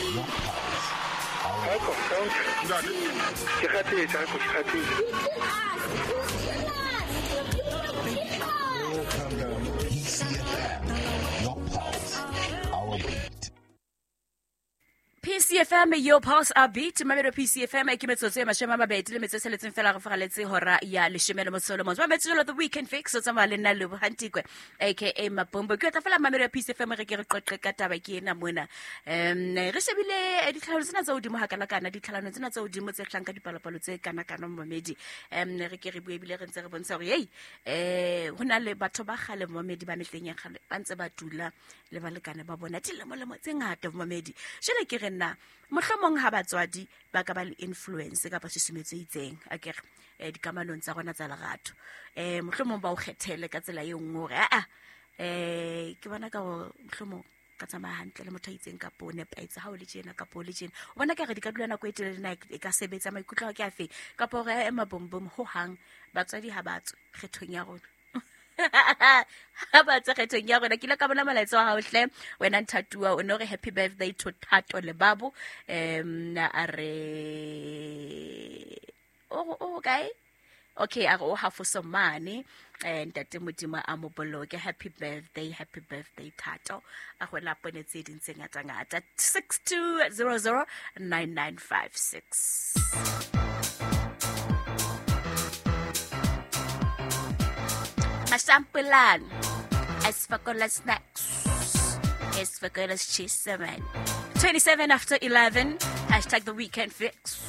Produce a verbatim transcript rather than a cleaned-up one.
Your pulse, our Ke kgathetse, ha ke kgathetse. P C F M, your pulse, our beat. P C F M, your pulse, our beat. Mamelo P C F M, ke metsotso e mashome a mabedi le metso e tsheletseng fela re fagaletse hora ya leshome le motso o le mong. Mamelo jwalo The Weekend Fix, o tsamaya le nna Lebo Hantikwe, aka Mapombo. Ke tla fela mamelo ya P C F M re ke re qoqe ka taba ke ena mona. Em, re shebile ditlhalano tsena tsa hodimo hakanakana, ditlhalano tsena tsa hodimo tse hlang ka dipalopalo tse kanakana momedi. Em, re ke re bue ebile re ntse re bontsha hore, hey, eh, ho na le batho ba kgale momedi ba mehleng ya kgale ba ntse ba dula le balekane ba bona dilemolemo tse ngata momedi. Jwale ke re nna mohlomong ha batswadi ba ka ba le influence kapa susumetso e itseng akere, eh, dikamanong tsa rona tsa lerato, eh, mohlomong ba o kgethele ka tsela e nngwe hore, ah, eh, ke bona ka hore mohlomong ka tsamaya hantle le motho a itseng kapa o nepahetse ha o le tjena kapa o le tjena. O bona ka re di ka dula nako e telele na e ka sebetsa, maikutlo a ke afe? Kapa hore, eh, mabombom ho hang batswadi ha ba tswe kgethong ya rona. Ha ba tswe kgethong ya rona. Ke ile ka bona molaetsa wa hao hle, wena Nthatuwa, o no re happy birthday to Thato le Babo. Em, a re, o, o kae? Okay, a re o hafoso mane. Eh, Ntate Modimo a mo boloke. Happy birthday, happy birthday Thato. A go la pone tse ding tse ngata-ngata. six two zero zero nine nine five six. Mashampulan, Esfakola snacks, Esfakola cheese, man. twenty-seven after eleven, hashtag the weekend fix.